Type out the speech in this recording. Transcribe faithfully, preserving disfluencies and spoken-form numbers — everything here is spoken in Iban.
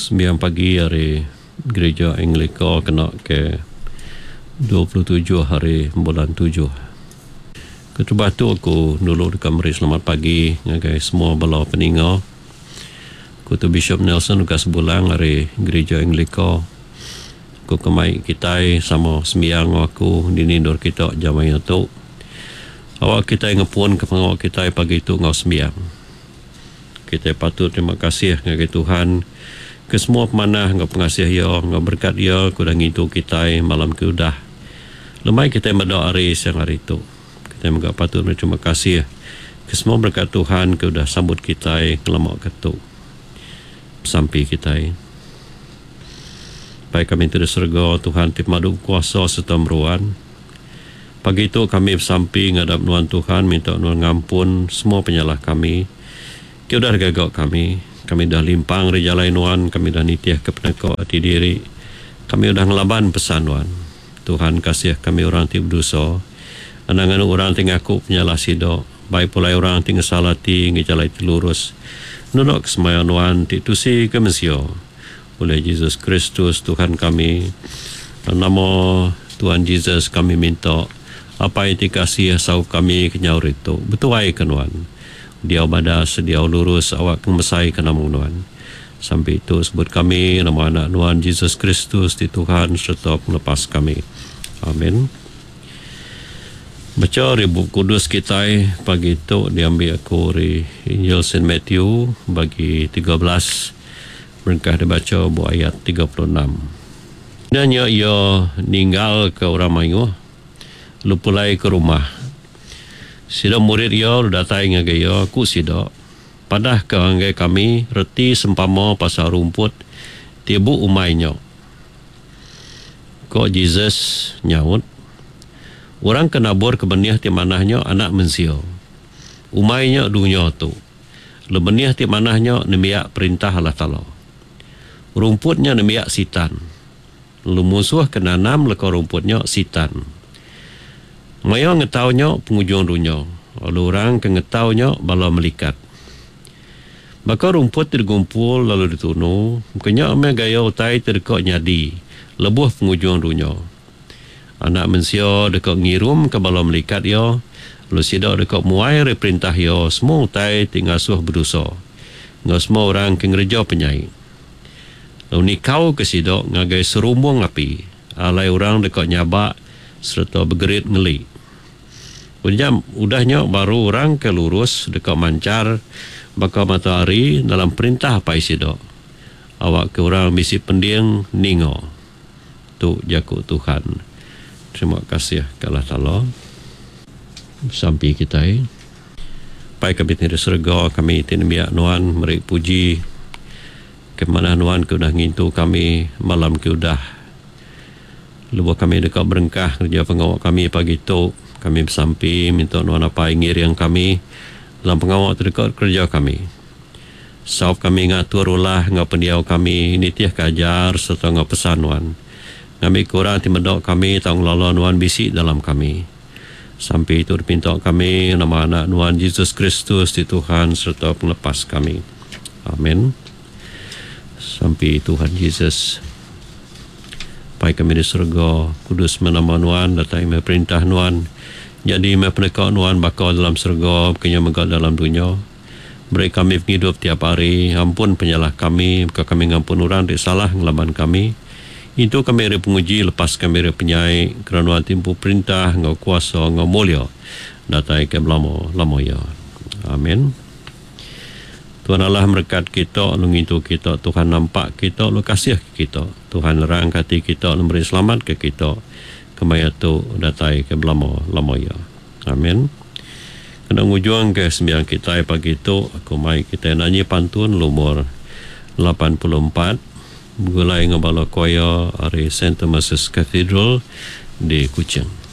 Sembiang pagi ari Gereja Anglika kena ke dua puluh tujuh hari bulan tujuh. Keterubah tu aku dulu deka meri selamat pagi ngagai semua bala peninga. Aku tu Bishop Nelson Lukas Bulang ari Gereja Anglika. Aku kemai kitai sama sembiang enggau aku dini endur kita jam maya tu. Awak kitai ngepun ke pengawa kitai pagi tu enggau sembiang. Kitai patut terima kasih ngagai Tuhan ke semua pemanah enggau pengasih Iya enggau berkat Iya ke udah ngintu kitai malam ke udah. Lemai kitai meda hari siang hari tu. Kitai mega patut berterima kasih ke semua berkat Tuhan ke udah sambut kitai ngelama ke tu. Besampi kitai. Pai kami ti di serega, Tuhan ti pemadu bekuasa sereta meruan. Pagi tu kami besampi ngadap Nuan Tuhan, minta Nuan ngampun semua penyalah kami ti udah digaga kami. Kami udah limpang ari jalai Nuan, kami udah nitihka peneka ati diri. Kami udah ngelaban pesan Nuan. Tuhan, kasih kami orang ti bedosa. Anang nganu orang ti ngaku penyalah sida, bai pulai orang ti ngesal ati enggau jalai ti lurus. Nulak ke semaya Nuan ti tusi ke mensia. Oleh Jesus Kristus Tuhan kami. Dalam nama Tuhan Jesus kami minta, Apai ti kasih saup kami kenyau ari tu. Betuai ke Nuan. Diau badas, diau lurus, awak ke ngemesai ke nama Nuan. Sampai itu sebut kami nama anak Nuan Jesus Kristus ti Tuhan sereta pengelepas kami. Amin. Bacha ari Bup Kudus kitai pagi tu diambi aku ari Injil Saint Matthew bagi tiga belas berengkah dibacha buah ayat tiga puluh enam. Udah nya iya ninggalka orang mayuh lalu pulai ke rumah. Sida murid iya lalu datai ngagai iya, ku sida, Padahka ngagai kami reti sempama pasal rumput ti bu umai nya. Ko Jesus nyaut, Orang ke nabur ke benih ti manah nya anak mensia. Umai nya dunya tu. Lalu benih ti manah nya nembiak perintah Allah Taala. Rumput nya nembiak Sitan. Lalu munsuh ke nanam leka rumput nya Sitan. Maya ngetau nya pengujung dunya, lalu orang ke ngetau nya bala melikat. Baka rumput ti digumpul lalu ditunu, ke nya meh gaya utai ti deka nyadi lebuh pengujung dunya. Anak mensia deka ngirumka bala melikat iya, lalu sida deka muai ari perintah iya semua utai ti ngasuh bedosa enggau semua orang ke ngereja penyai. Lalu nikauka sida ngagai serumbung api, alai orang deka nyabak sereta begerit ngeli. Udah, udah nya baru orang ke lurus deka manchar baka matahari dalam perintah Apai sida. Awakka orang bisi pending ninga. Tu jaku Tuhan. Terima kasih ke Allah Taala. Sampi kitai. Pai kami ti di serega, kami ti nembiak Nuan meri puji ke manah Nuan ke udah ngintu kami malam ke udah. Lebuh kami deka berengkah ngereja pengawa kami pagi tu, kami besampi minta Nuan Apai ngiring kami dalam pengawa ti deka kereja kami. Saup kami ngatur ulah enggau pendiau kami nitihka ajar sereta enggau pesan Nuan. Ngambika orang ti meda kami tau ngelala Nuan bisi dalam kami. Sampi tu dipinta kami nama anak Nuan Jesus Kristus ti Tuhan sereta pengelepas kami. Amin. Sampi Tuhan Jesus. Pai kami di serega, kudus meh nama Nuan, datai meh perintah Nuan. Jadi meh peneka Nuan baka dalam serega, baka nya mega dalam dunya. Beri kami pengidup tiap hari, ampun penyalah kami, baka kami ngampun orang ti salah ngelaban kami. Intu kami ari penguji, lepas kami ari penyai, kerana Nuan ti empu perintah enggau kuasa enggau mulia, datai ke belama-lama iya. Amin. Tuhan Allah merekat kita, lalu ngintu kita. Tuhan nampak kita, lalu kasih ke kita. Tuhan nerangka ati kita, lalu meri selamat ke kita. Kemaya tu datai ke belama-lama iya. Amin. Kena ngujung ke sembiang kitai pagi tu, aku mai kitai nanyi pantun lumur lapan puluh empat begulai enggau bala choir ari Saint Thomas's Cathedral di Kuching.